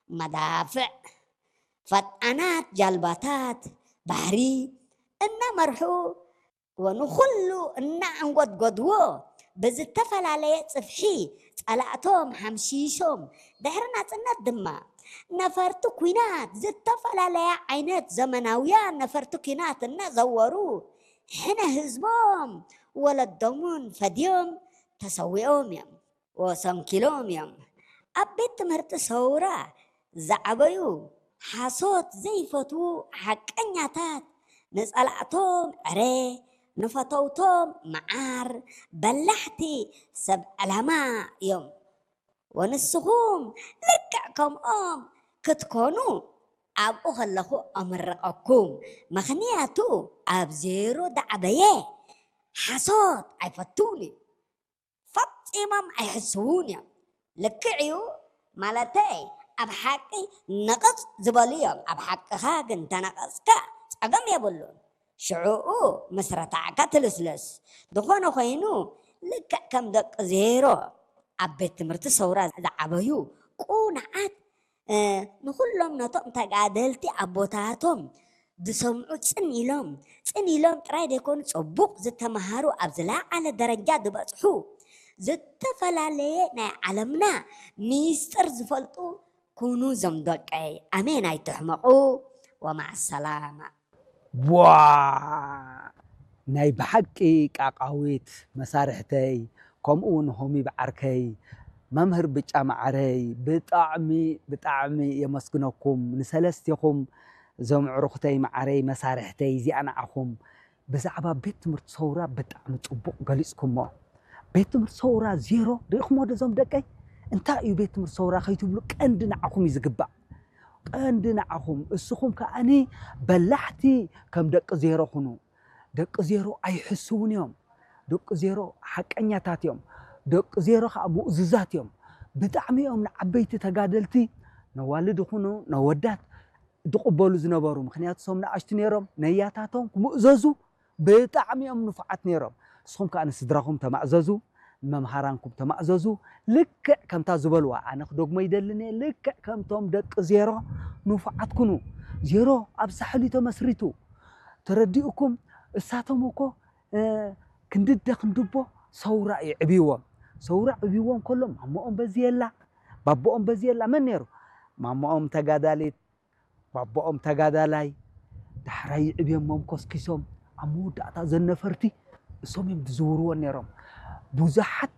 መዳፍዕ፣ ፈጣናት ጃልባታት ባሕሪ እናመርሑ ወንኹሉ እናኣንጎድጎድዎ ብዝተፈላለየ ጽፍሒ ጸላእቶም ሓምሺሾም፣ ድሕሪ ናጽነት ድማ ነፈርቲ ኲናት ዝተፈላለያ ዓይነት ዘመናውያን ነፈርቲ ኲናት እናዘወሩ ሕነ ህዝቦም ወለዶምን ፈድዮም ተሰዊኦም እዮም። ወሰንኪሎም እዮም። ኣብ ቤት ትምህርቲ ሰውራ ዝዓበዩ ሓሶት ዘይፈትዉ ሓቀኛታት ንጸላእቶም ዕረ ንፈተውቶም መዓር በላሕቲ ሰብ ዕላማ እዮም። ወንስኹም ልክዕ ከምኦም ክትኮኑ ኣብኡ ከለኹ ኣምርቐኩም። ምኽንያቱ ኣብ ዜሮ ዝዓበየ ሓሶት ኣይፈትዉን እዩ። ፈጺሞም ኣይሕስዉን እዮም። ልክዕ እዩ ማለተይ ኣብ ሓቂ ነቐጽ ዝበሉ እዮም። ኣብ ሓቅኻ ግን ተነቐጽካ ጸገም የብሉን። ሽዕኡ ምስ ረታዕካ ትልስልስ። ዝኾነ ኮይኑ ልክዕ ከም ደቂ ዜሮ ኣብ ቤት ትምህርቲ ሰውራ ዝዓበዩ ቁኑዓት ንኹሎም ነቶም ተጋደልቲ ኣቦታቶም ዝሰምዑ ጽን ኢሎም ጽን ኢሎም ጥራይ ዘይኮኑ ጽቡቕ ዝተምሃሩ ኣብ ዝለዓለ ደረጃ ዝበጽሑ ዝተፈላለየ ናይ ዓለምና ሚስጥር ዝፈልጡ ኩኑ ዞም ደቀይ ኣሜን ኣይትሕመቑ ወማዓ ሰላማ። ቧ ናይ ብሓቂ ቃቃዊት መሳርሕተይ ከምኡ እውን ሆሚብ ዓርከይ መምህር ብጫ መዓረይ ብጣዕሚ ብጣዕሚ የመስግነኩም ንሰለስቲኹም እዞም ዕሩኽተይ መዓረይ መሳርሕተይ እዚኣ ንዓኹም ብዛዕባ ቤት ትምህርቲ ሰውራ ብጣዕሚ ጽቡቕ ገሊጽኩሞ ቤት ትምህርቲ ሰውራ ዜሮ ርኢኹሞ ዶ እዞም ደቀይ እንታይ እዩ ቤት ትምህርቲ ሰውራ ከይትብሉ ቀንዲ ንዓኹም እዩ ዝግባእ ቀንዲ ንዓኹም እስኹም ከኣኒ በላሕቲ ከም ደቂ ዜሮ ኩኑ ደቂ ዜሮ ኣይሕስውን እዮም ደቂ ዜሮ ሓቀኛታት እዮም ደቂ ዜሮ ከዓ ምእዙዛት እዮም ብጣዕሚ እዮም ንዓበይቲ ተጋደልቲ ነዋልድ ይኹኑ ነወዳት ዝቕበሉ ዝነበሩ ምክንያቱ ሶም ንኣሽቱ ነይሮም ነያታቶም ክምእዘዙ ብጣዕሚ እዮም ንፉዓት ነይሮም እስኹም ከዓ ንስድራኹም ተማእዘዙ ንመምሃራንኩም ተማእዘዙ ልክዕ ከምታ ዝበልዋ ኣነ ክደግሞ ይደልን እየ ልክዕ ከምቶም ደቂ ዜሮ ንፉዓት ኩኑ ዜሮ ኣብ ሳሕል እዩ ተመስሪቱ ተረዲኡኩም እሳቶም እኮ ክንድደ ክንድቦ ሰውራ እዩ ዕብይዎም ሰውራ ዕብይዎም ከሎ ማሞኦም በዚ የላ ባቦኦም በዚ የላ መን ነይሩ ማሞኦም ተጋዳሊት ባቦኦም ተጋዳላይ ዳሕራይ ይዕብዮሞም ኮስኪሶም ኣብ መወዳእታ ዘን ነፈርቲ እሶም እዮም ዝዝውርወን ነይሮም ብዙሓት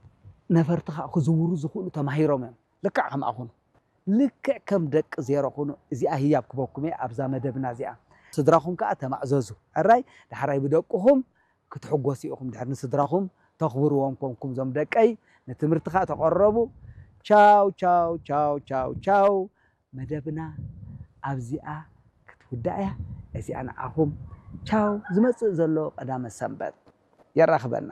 ነፈርቲ ከዓ ክዝውሩ ዝኽእሉ ተማሂሮም እዮም ልክዕ ከምኣ ኩኑ ልክዕ ከም ደቂ ዜሮ ኩኑ እዚኣ ህያብ ክበኩም እየ ኣብዛ መደብና እዚኣ ስድራኹም ከዓ ተማእዘዙ ሕራይ ዳሕራይ ብደቅኹም ክትሕጎሱ ኢኹም ድሕር ንስድራኹም ተኽብርዎም ኮንኩም ዞም ደቀይ ንትምህርቲ ከዓ ተቐረቡ ቻው ቻው ቻው ቻው ቻው መደብና ኣብዚኣ ክትውዳእ እያ። እዚኣ ንዓኹም ቻው ዝመጽእ ዘሎ ቀዳመ ሰንበት የራኽበና።